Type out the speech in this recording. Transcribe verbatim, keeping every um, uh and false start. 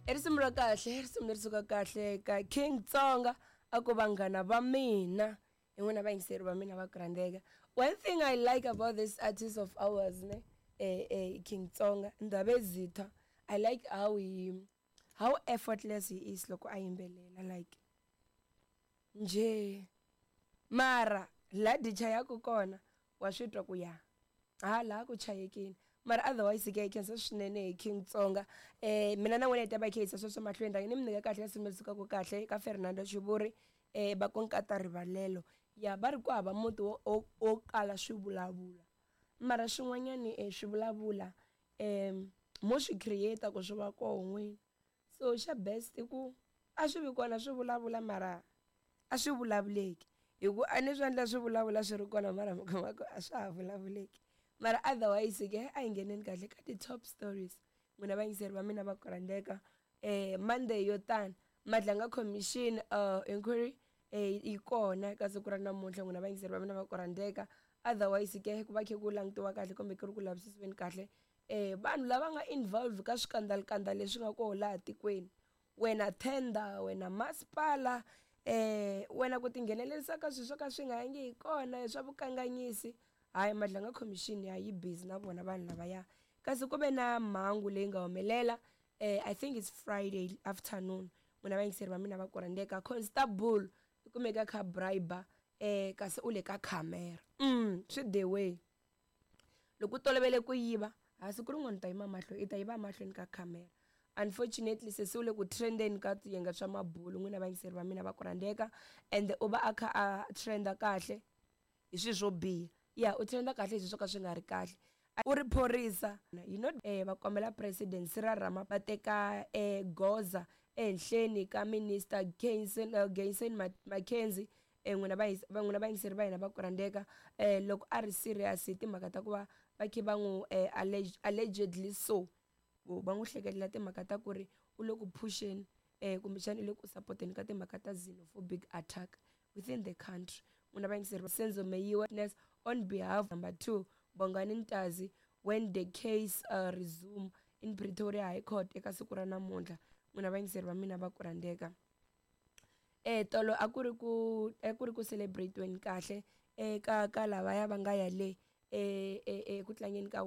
I risimu ra kahle, i risimu leri suka kahle ka King Tsonga a ku vanghana va mina hi n'wina vayingiseri va mina va ku rhandzeka. One thing I like about this artist of ours ne eh, eh, King Tsonga Ndabezitha, I like how he how effortless he is loko a yimbelela like njhe mara la dyi chayaku kona wa swi twa ku ya ha laha ku chayekini mara otherwise ke hi khensa swinene hi King Tsonga eh mina na n'wina hi ta va hi kha hi yisa sweswo mahlweni rhangi ni mi nyika kahle risimu leri sukaka kahle ka Fernando Xivuri eh va ku nkata rivalelo ya va ri ku hava muti wo wo wo kala swivulavula mara swin'wanyani eh swivulavula em mo swi create ku swi va koho n'wini so xa best i ku a swi vi kona swi vulavula mara a swi vulavuleki hi ku a ni swi endla swi vulavula swi ri kona mara mi kuma ku a swa ha vulavuleki mara otherwise ke a hi ngheneni kahle ka ti-top stories n'wina vayingiseri va mina va ku rhandzeka eh Monday yo tani Madlanga Commission uh inquiry eh yi kona eka siku ra namuntlha n'wina vayingiseri va mina va ku rhandzeka otherwise ke ku va khe ku langutiwa kahle kumbe ku ri ku lavisisiweni kahle eh vanhu lava nga involve ka swikandalukanda leswi nga koho laha tikweni wena tender wena masipala eh wena ku tinghenelerisa ka swilo swo ka swi nga yangi hi kona swa vukanganyisi hayi Madlanga Commission ya yi busy na vona vanhu lavaya kasi ku ve na mhangu leyi nga humelela eh I think it's Friday afternoon n'wina vayingiseri va mina va ku rhandzeka constable i kumeka kha bribe eh kasi u le ka camera mm swi the way loko u tolovele ku yiva ha siku rin'wana u ta yima mahlo i ta yiva mahlweni ka camera unfortunately sesi u le ku trendeni ka swiyenge swa mabulu n'wina vayingiseri va mina va ku rhandzeka and u va a kha a trenda kahle hi swilo swo biha ya u trenda kahle hi swilo swo ka swi nga ri kahle u ri phorisa you know eh va kombela president Cyril Ramaphosa va teka eh goza ehenhleni ka minister Gayson uh, Gayson McKenzie eh n'wina va n'wina vayingiseri va hina va ku rhandzeka eh loko a ri serious hi timhaka ta ku va va khe va n'wi eh, allegedly so va n'wi hlekelela timhaka ta ku ri u le ku phusheni eh kumbexana u le ku sapoteni ka timhaka ta xenophobic attack within the country n'wina vayingiseri va Senzo Meyiwa on behalf number two Bongani Ntanzi when the case uh, resume in Pretoria High Court eka siku ra namuntlha n'wina vayingiseri va mina va ku rhandzeka eh tolo a ku ri ku a ku ri ku celebrate-weni kahle eka ka lavaya va nga ya le eh eh ku tlangeni ka